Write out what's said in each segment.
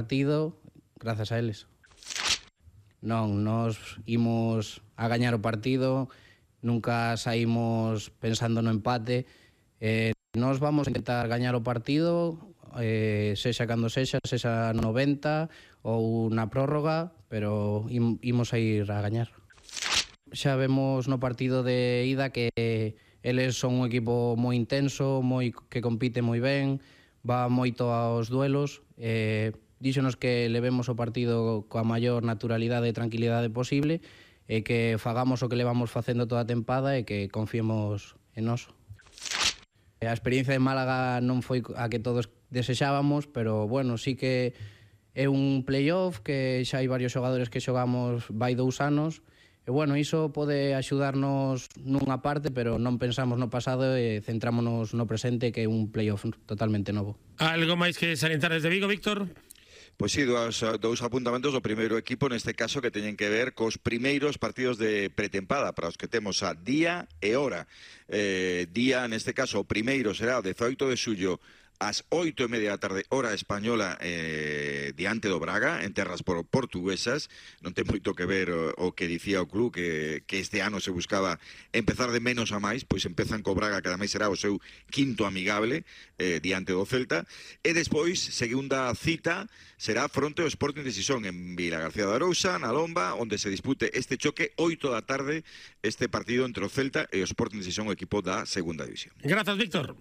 partido grazas a eles. Non, nos imos a gañar o partido, nunca saímos pensando no empate. Nos vamos a intentar gañar o partido, sexa cando sexa 90 ou na prórroga, pero imos a ir a gañar. Xa vemos no partido de ida que eles son un equipo moi intenso, que compite moi ben, va moito aos duelos. Díxonos que levemos o partido coa maior naturalidade e tranquilidade posible e que fagamos o que levamos facendo toda a tempada e que confiemos en nós. A experiencia de Málaga non foi a que todos desexábamos, pero bueno, sí que é un playoff que xa hai varios xogadores que xogamos vai 2 anos e bueno, iso pode axudarnos nunha parte, pero non pensamos no pasado e centrámonos no presente, que é un playoff totalmente novo. Algo máis que salientar desde Vigo, Víctor? Pois sí, dous apuntamentos do primeiro equipo, neste caso, que teñen que ver cos primeiros partidos de pretempada, para os que temos a día e hora. Día, neste caso, o primeiro será o 18 de xullo, ás 8:30 da tarde, hora española, diante do Braga, en terras portuguesas. Non ten moito que ver o que dicía o club, que este ano se buscaba empezar de menos a máis, pois empezan co Braga, que ademais será o seu quinto amigable, diante do Celta. E despois, segunda cita, será fronte ao Sporting de Sison, en Vila García de Arousa, na Lomba, onde se dispute este choque, 8 da tarde, este partido entre o Celta e o Sporting de Sison, o equipo da segunda división. Grazas, Víctor.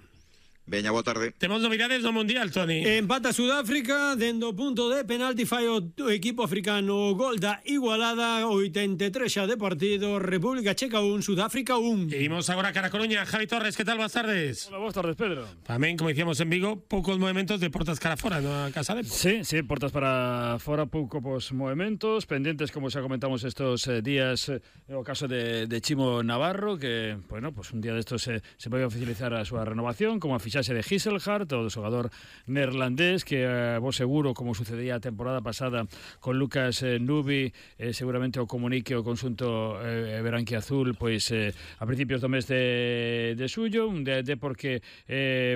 Veña, boa tarde. Temos novidades do Mundial, Toni. Empata Sudáfrica, dendo punto de penalti fai o equipo africano, gol da igualada, 83 xa de partido, República Checa 1, Sudáfrica 1. E imos agora cara a Coruña. Javi Torres, que tal? Boas tardes. Hola, boas tardes, Pedro. Tamén, como dicíamos en Vigo, poucos movimentos de portas cara fora na Casa de... Sí, portas para fora, poucos movimentos, pendientes, como xa comentamos estos días, o caso de Chimo Navarro, que, bueno, pues un día destos se vai oficializar a súa renovación, como a fichaxe de Gisselhart, o do xogador neerlandés, que vos seguro, como sucedía a temporada pasada con Lucas Nubi, seguramente o comunique o conxunto branquiazul pois a principios do mes de xullo, de porque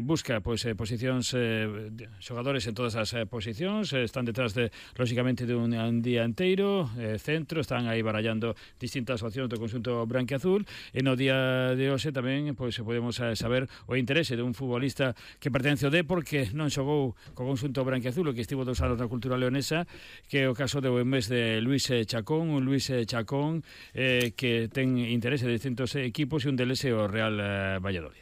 busca pois posicións, xogadores en todas as posicións, están detrás de, lógicamente, de un día inteiro, centro, están aí barallando distintas opcións do conxunto branquiazul, e no día de hoxe tamén pois podemos saber o interese de un futbolista que pertence ao Depor, que non xogou co conxunto branquiazul, que estivo 2 anos na cultura leonesa, que é o caso do mes de Luis Chacón, que ten interese de distintos equipos, e un deles é o Real Valladolid.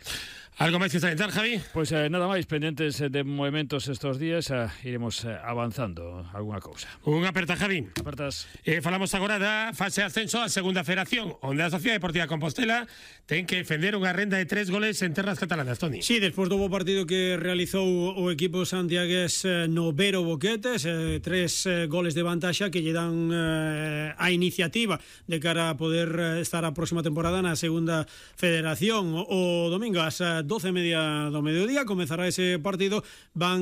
Algo máis que salientar, Javi? Pois nada máis, pendentes de movimentos estos días, iremos avanzando alguna cousa. Unha aperta, Javi. Apertas. Falamos agora da fase de ascenso á segunda federación, onde a Sociedade Deportiva Compostela ten que defender unha renda de 3 goles en terras catalanas, Toni. Sí, despois do bo partido que realizou o equipo santiagués no Vero Boquetes, 3 goles de vantaxa que lle dan a iniciativa de cara a poder estar a próxima temporada na segunda federación. O domingo ás 12:30 do mediodía comezará ese partido. Van